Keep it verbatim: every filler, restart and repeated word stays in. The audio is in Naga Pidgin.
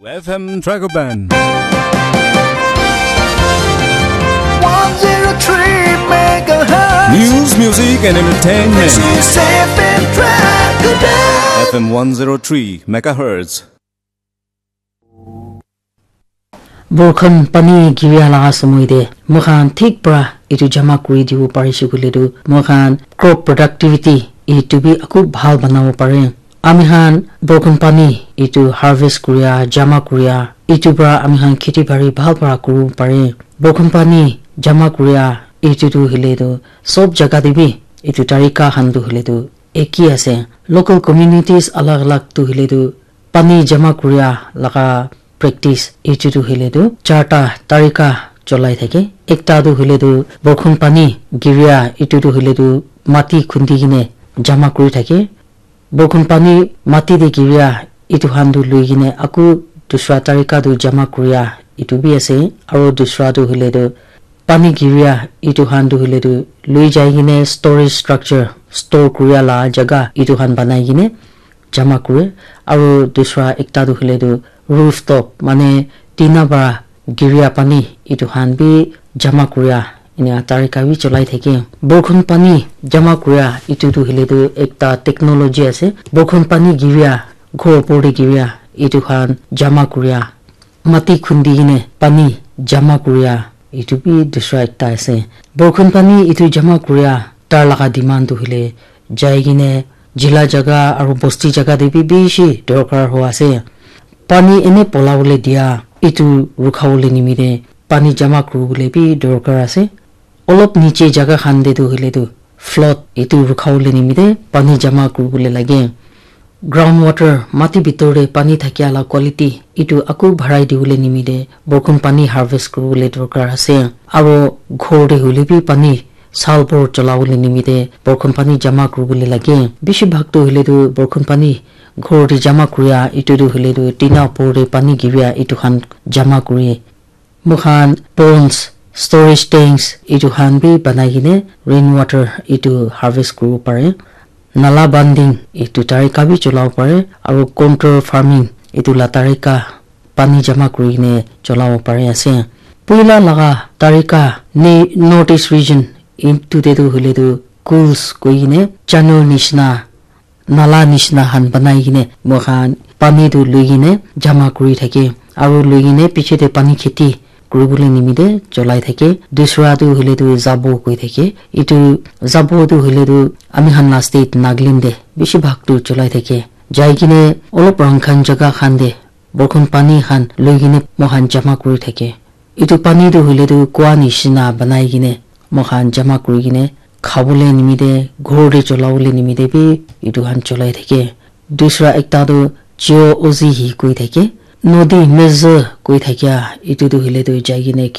F M Dragon Band. One zero three megahertz. News, music, and entertainment. This is F M Dragon Band. F M one zero three megahertz. Borkhon pani giria laga samoi te moikhan thik pra etu jama kuri dibo parishe koile tu moikhan crop productivity etu bi aku bhal banabo pare. Ami khan borkhon pani etu harvest kuria, jama kuria, etu pra ami khan kheti bari bhal pra kuribo pare. Borkhon pani jama kuria etu tu hoile tu sob jaga te bi etu tarika khan tu hoile tu eki ase. Local communities alag alag tu hoile tu pani jama kuria laga practice etu tu hoile tu charta tarika cholai thake. Ekta tu hoile tu borkhon pani giria etu tu hoile tu mati khundi kene jama kuri thake. Borkhon pani mati te giria etu khan tu lui kene aku dusra tarika tu jama kuria etu bi ase. Aro dusra tu hoile tu pani giria etu khan tu hoile tu lui jai kene storage structure, store kuria la jaga etu khan banai kene jama kure. Aro dusra ekta tu hoile tu rooftop mane tina para giria pani etu khan bi jama kuria enia tarika bi cholai thake. Borkhon pani jama kuria etu tu hoile tu ekta technology ase. Borkhon pani giria, ghor opor te giria etu khan jama kuria, mati khundi kene pani jama kuria etu bi dusra ekta ase. Borkhon pani etu jama kuria tar laga demand tu hoile jai kene jila jaga aro bosti jaga te bi bishi dorkar ho ase. Pani ene polabole dia etu rukhabole nimite pani jama kuribole bi dorkar ase. Olop niche jaga khan te tu hoile tu flood etu rukhabole nimite pani jama kuribole lage. Ground water, mati bitor te pani thakia la quality etu aku bharai dibole nimite borkhon pani harvest kuribole dorkar ase. Aro ghor te hoile bi pani sal bhor cholabole nimite borkhon pani jama kuribole lage. Bishi bhag tu hoile tu borkhon pani ghor te jama kuria etu tu hoile tu tina opor te pani giria etu khan jama kuri. Moikhan ponds, storage tanks etu khan bi banai kene rain water etu harvest kuribo pare. Nala banding etu tarika bi cholabo pare aro contour farming etu la tarika pani jama kuri kene cholabo pare ase. Puila laga tarika ne North East region etu te tu hoile tu cools koi kene channel nishina nala nishina khan banai kene moikhan pani tu lui kene jama kuri thake aro lui kene piche te pani kheti kuribole nimite cholai thake. Dusra tu hoile tu zabo koi thake. Etu zabo tu hoile tu ami khan la state Nagaland te bishi bhag tu cholai thake. Jai kene olop rang khan jaga khan te borkhon pani khan lui kene moikhan jama kuri thake. Etu pani tu hoile tu kua nishina banai kene moikhan jama kuri kene khabole nimite, ghor te cholabole nimite bi etu khan cholai thake. Dusra ekta tu Chio Ozihi koi thake. Nodi Meze koi thakia etu tu hoile tu jai kene ki